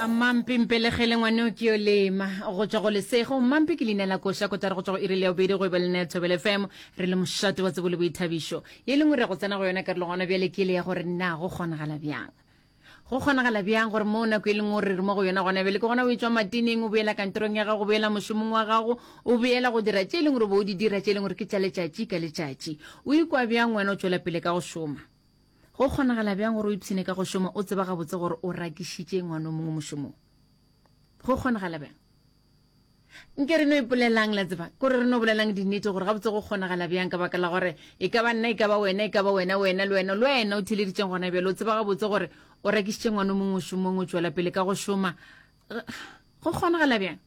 Mmampi mpelegele ngwaneo ke yo lema go tšwa go lesego. Mmampi ke leina la koša kotara go tšwa go iri le ya bobedi go eba le nna ya Thobela FM re le mošate wa tsebo le boithabišo. Ye lengwe re ya go tsena go yona karolo gona bjale ke le ya gore na go kgonagala bjang. Go kgonagala bjang gore mo nako e lengwe o re re mo go yona gona bjale ke gona o etšwa matineng o boela kantorong ya gago o boela mošomong wa gago o boela go dira tše e leng gore o be o di dira tše e leng gore ke tša letšatši ka letšatši. O ikwa bjang wena o tšwela pele ka go šoma? Go kgonagala bjang gore o ipshine ka go šoma o tseba gabotse gore o rakišitše ngwana o mongwe mošomong? Go kgonagala bjang? Nke re no ipolelang, la tseba, kore re no bolelang dinnete gore gabotse go kgonagala bjang, ka baka la gore e ka ba nna, e ka ba wena, e ka ba wena, wena, le wena, le wena o theeleditšeng gona bjale, o tseba gabotse gore o rakišitše ngwana o mongwe mošomong, o tšwela pele ka go šoma. Go kgonagala bjang?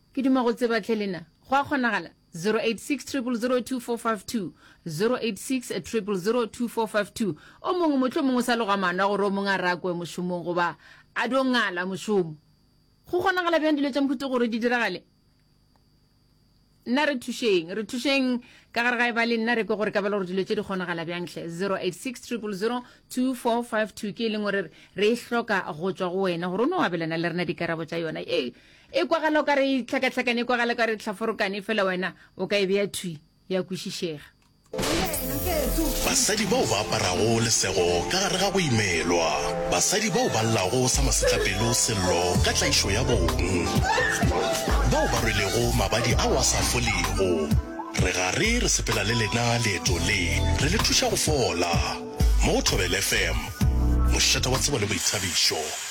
Ke duma go tseba tlhe lena. Go a kgonagala? 086 000 2452 086 000 2452 O mongwe mohlomongwe o sa loga maano a gore o mongwe a rakwe mošomong goba a dio ngala mošomo. Go kgonagala bjang dilo tša mohuta gore di diragale? Nna re thušeng, re thušeng ka gare ga e ba le nna re kwe gore ka bela gore dilo tše di kgonagala bjang hle. 086 000 2452 ke e leng gore re e hloka go tšwa go wena gore o no abelana le rena dikarabo tša yona. E e kwagala o ka re e hlakahlakane, e kwagala o ka re e hlaforokane, fela wena o ka e bea thwi ya kwešišega. Basadi bao ba aparago lesego ka gare ga go imelwa. Basadi bao ba llago sa masetlapelo sello ka tlaišo ya bong. Bao ba rwelego mabadi ao a sa folego. Re gare re sepela le lena leeto le, re le thuša go fola. Mo go Thobela FM, mošate wa tsebo le boithabišo.